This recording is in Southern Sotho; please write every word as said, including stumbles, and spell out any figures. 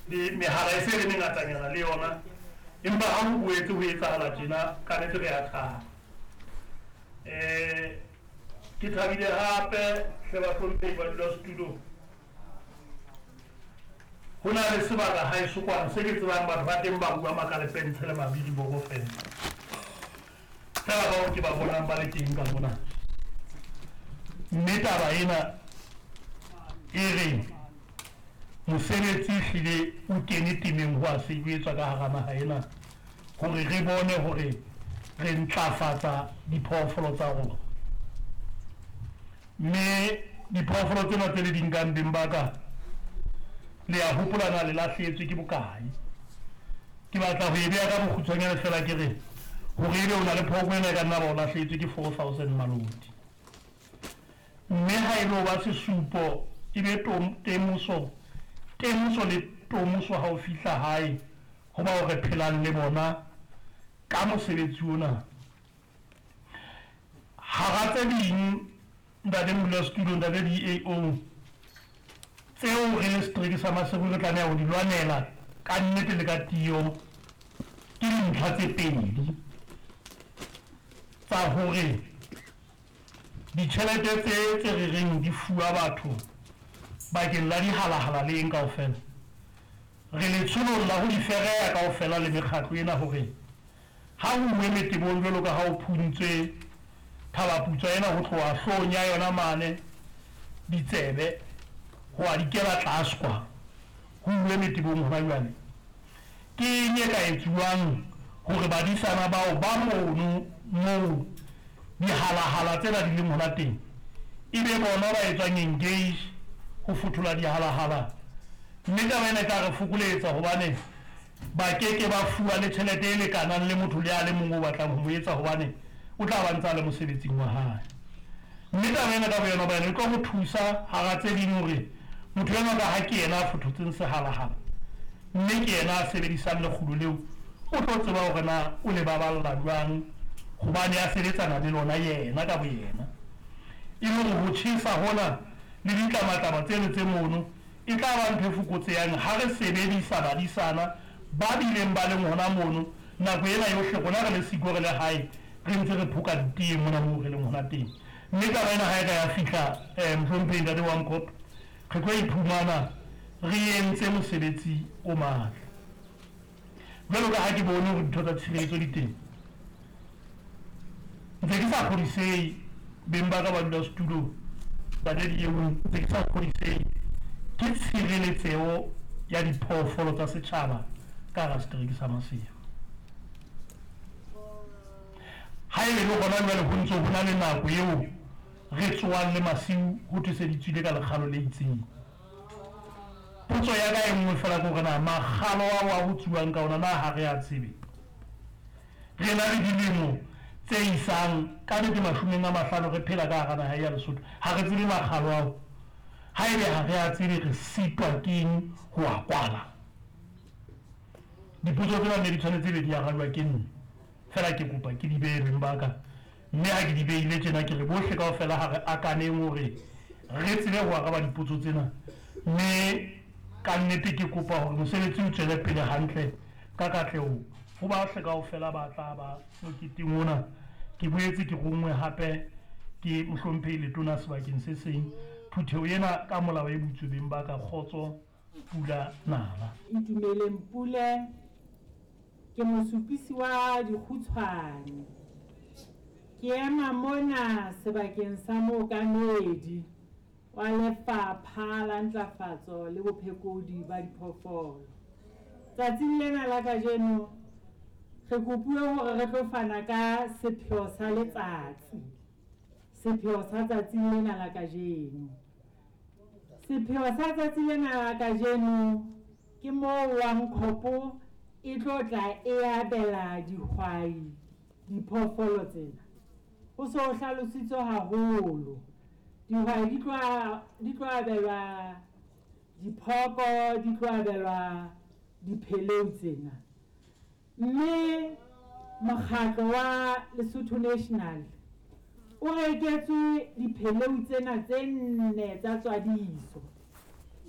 Le mehala e se e le mengatanyana le yona, empa ha ho boetse ho etsahala tjena, ka nnete re a thaba. Um ke thabile hape hle bahlomphehi badulasetulo, ho na le sebaka haeso kwana se ke tsebang batho ba teng ba bua makalepentshe le mabidiboko fela. Fela bao ke ba bonang ba le teng ka mona. Mme taba ena e re mosebetsi ehlile o kene temeng ho a sebetswa ka hara naha ena hore re bone hore re ntlafatsa diphoofolo tsa rona. Mme diphoofolo tsena tse le di nkang beng ba ka, le a hopola na le lahlehetswe ke bokae? Ke batla ho e beha ka bokgutshwanyane fela ke re hore ebe o na le phooko ena e ka nna ba o lahlehetswe ke four thousand maloti. Mme ha e lo ba sesupo e be temoso, temoso le tomoso ha o fihla hae ho bao re phelang le bona ka mosebetsi ona. Hara tse ding, ntate modulasetulo, ntate D A O, tseo re le setereke sa Maseru re tlameha ho di lwanela ka nnete le ka tiyo ke dintlha tse pedi tsa hore ditjhelete tse tse re reng di fuwa batho bakeng la dihalahala le eng kaofela, re letsholong la ho di fereya kaofela le mekgatlo ena hore ha ho uwe metebong jwalo ka ha ho phuntswe Thabaputswa ena ho tloha hloohong ya yona mane ditsebe ho a dikela tlase kwa, ho uwe metebong hona jwale. Ke eng e ka etsuwang hore badisana bao ba mono moo dihalahala tsena di leng hona teng e be bona ba etswang engage ho fothola dihalahala? Mme taba ena e tla re fokoletsa hobane ba keke ba fuwa le tjhelete e lekanang le motho le a le mong o batlang ho mo etsa, hobane o tla ba ntsa le mosebetsing wa hae. Mme taba ena ka boyona ba yona e tlo go thusa hara tse ding hore motho enwa ka ha ke yena a fothotseng sehalahala, mme ke yena a sebedisang lekgulo leo, o tlo tseba hore na o le baballa jwang hobane a sebetsana le lona yena ka boyena. E le hore ho tjhesa hona le ditlamatlama tseno tse mono e tla ba ntho e fokotsehang ha re sebedisa badisana ba bileng ba leng hona mono nako ena yohle. Rona re le siko re le hae re ntse re phoka ditee mona moo re leng hona teng. Mme taba ena ha e ka ya fihla um mohlomphehi ntate wa Nkopo, re tlo iphumana re entse mosebetsi o matla. Jwalo ka ha ke bone hore dintho tsa tshireletso di teng, ntse ke sa kgodisehe beng ba ka ba dula setulong ntate D A O, ntse ke sa kgodisehe ke tshireletseho ya diphoofolo tsa setjhaba ka hara setereke sa Maseru. Ha e le hona jwale ho ntso ho na le nako eo re tsoang le masiu ho thwe se di tswile ka lekgalo le itseng. Potso ya ka e nngwe fela ke hore na makgalo ao a ho tsuwang ka ona na ha re a tsebe? Re na le dilemo tse isang ka nnete mashomeng a mahlano re phela ka hara naha ya Lesotho, ha re tsebe makgalo ao. Ha ebe ha re a tsebe, re sitwa keng ho a kwala? Dipotso tsena ne di tshwanetse be di arajwa ke nna fela, ke kopa ke di behe beng ba ka. Mme ha ke di behile tjena, ke re bohle kaofela ha re akaneng hore re tsebe ho araba dipotso tsena. Mme ka nnete ke kopa hore mosebetsi o tswele pele hantle ka katleho ho bahle kaofela ba tla ba moketeng ona. Ke boetse ke ronngwe hape ke mohlomphehi letona sebakeng se seng. Phutheho ena ka molao e butswe beng ba ka. Kgotso, pula nala. Itumeleng Pule, ke mosupisi wa dikgutshwane. Ke ema mona sebakeng sa mookamedi wa Lefapha la Ntlafatso le Bophekodi ba Diphoofolo. Tsatsing lena la kajeno re kopuwe hore re tlo fana ka sepheo sa letsatsi, sepheo sa tsatsi lena la kajeno. Sepheo sa tsatsi lena la kajeno ke moo Wankhopo e tlo tla e abela dihwai diphoofolo tsena. Ho so hlalositswe haholo. Dihwai di tlo di tlo abelwa diphoko, di tlo abelwa dipheleu tsena. Mme mokgatlo wa Lesotho National o reketswe dipheleu tsena tse nne tsa tswadiso.